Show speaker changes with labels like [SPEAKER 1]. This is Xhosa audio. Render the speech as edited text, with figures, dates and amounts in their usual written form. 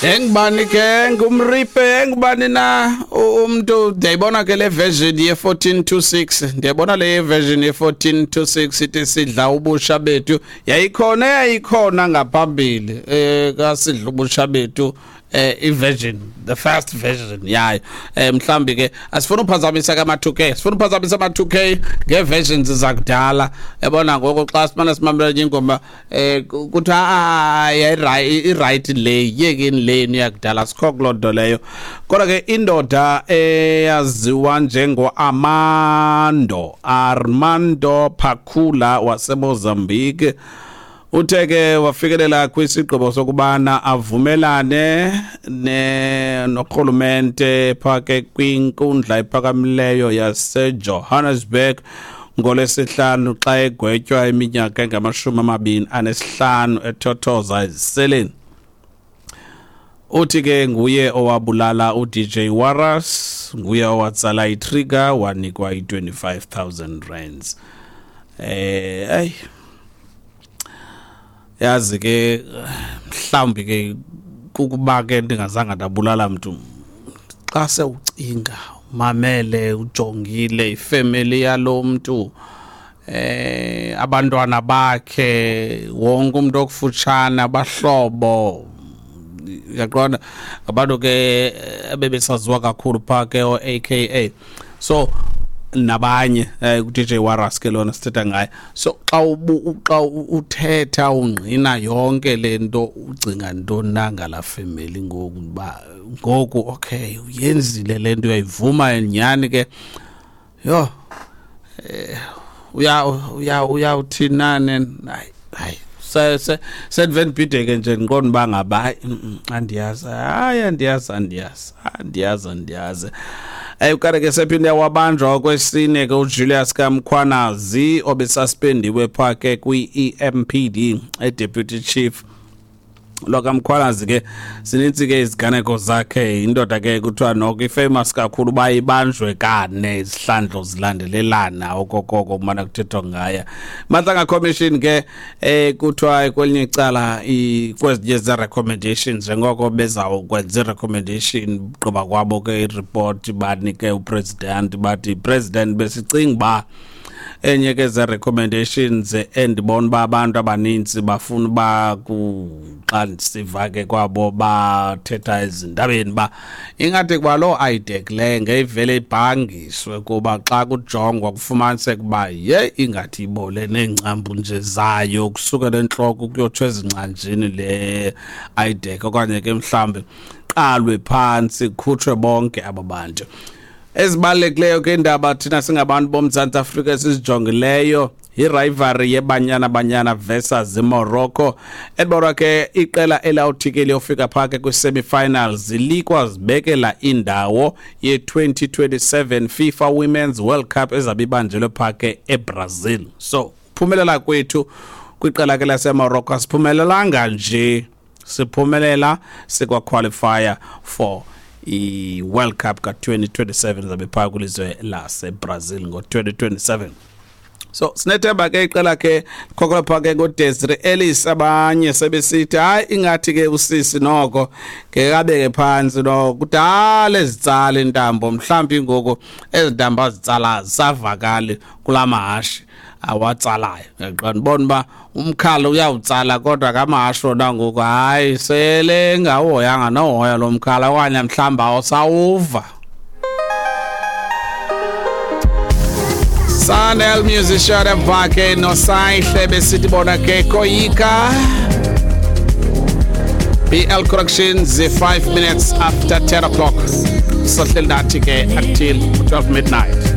[SPEAKER 1] Engubani ke ngumripe engubani na umuntu ndiyayibona ke le version ye 1426 ndiyayibona le version ye 1426 ithi sidla ubusha bethu yayikhona yayikhona ngaphambili eh kasidla ubusha bethu eh i-version the first version yayo eh mhlambi ke asifuna uphazamisa kama 2K sifuna uphazamisa ama 2K ngeversions zakudala yabona ngoku xa simane simamela enye ingoma eh kuthi hayi i-right le yekeni le yakudala sikho kuloo nto leyo kodwa ke indoda eyaziwa njengo-Armando Armando Phakula waseMozambique uthe ke wafikelela kwisigqibo sokubana avumelane ne norhulumente phake kwinkundla ephakamileyo yaseJohannesburg ngolwesihlanu xa egwetywa iminyaka engamashumi amabini anesihlanu ethothoza eziseleni. Uthi ke nguye owabulala uDJ Warras, nguye owatsala itrigger wanikwa i-25,000 rands. Eh ay yazi ke mhlawumbi ke kukuba ke ndingazange ndabulala mntu xa sewucinga mamele ujongile ifemeli yalo mntu eh abantwana bakhe wonke umuntu okufutshane abahlobo uyaqonda abantu ke ebebesaziwa kakhulu phaa ke o-AKA so nabanye eh uDJ Warras ke lona sithetha ngaye so xa ubu xa uthetha ungqina yonke lento ucinga ntoni na ngala family ngoku ba ngoku okay uyenzile lento uyayivuma nyhani ke yho eh uya uya uyawuthinane hayi hayi se se sendivendibhideke nje ndiqonda uba ngaba hayi andiyazi hayi andiyazi andiyazi andiyazi andiyazi. Ukanti ke sephinde wabanjwa okwesine ke uJulius Kamkhwanazi obesuspendiwe phaa ke kwi-EMPD eDeputy Chief lokaMkhwanazi ke sinintsi ke iziganeko zakhe indoda ke kuthiwa noko ifamous kakhulu uba ibanjwe kane izihlandlo zilandelelana okokoko kumana kuthethwa ngaye. Madlanga Commission ke eh kuthiwa kwelinye icala kwezinye zee-recommendations njengoko bezawukwenza i-recommendation gqiba kwabo ke ireport banike upresident bathi president besicinga uba enye ke ze-recommendations endibona uba abantu abanintsi bafuna uba xa ndisiva ke kwabo bathetha ezindabeni uba ingathi kuba loo IDAC le ngeyivele ibhangiswe kuba xa kujongwa kufumaniseka uba ye ingathi ibole neengcambu nje zayo kusukela entloko ukuyotsho ezingcanjini le IDAC okanye ke mhlawumbi qalwe phantsi kukhutshwe bonke aba bantu. Ezibalulekileyo ke indaba thina singabantu boMzantsi Afrika esizijongileyo yi-rivalry yeBanyana Banyana versus iMorocco. Edibonwa ke iqela elawuthi ke liyofika phaa ke kwi-semi-finals likwazibekela indawo ye-2027 FIFA Women's World Cup ezabe ibanjelwe phaa ke eBrazil. So phumelela kwethu kwiqela ke laseMorocco asiphumelelanga nje, siphumelela sikwaqualifya for i-World Cup ka-2027 zabe phaa kwilizwe laseBrazil ngo-2027. So sinethemba ke iqela ke khokhola phaa ke ngoDesiree Ellis abanye sebesithi hayi ingathi ke usisi noko ngekabeke phantsi noko kudala ezitsala intambo mhlawumbi ngoku ezi ntambo azitsala zisavakali kula mahashi awatsalayo. Uyaqonda ubona uba umkhala uyawutsala kodwa kamahashe wona ngoku hayi sele engahoyanga nohoya lo mkhala okanye mhlawumbi awusawuva. Sanel musician bakhe noSayihle besithi bona ke koyika. BL Corrections 5 minutes after 10 o'clock. Sohleli nathi ke until 12 midnight.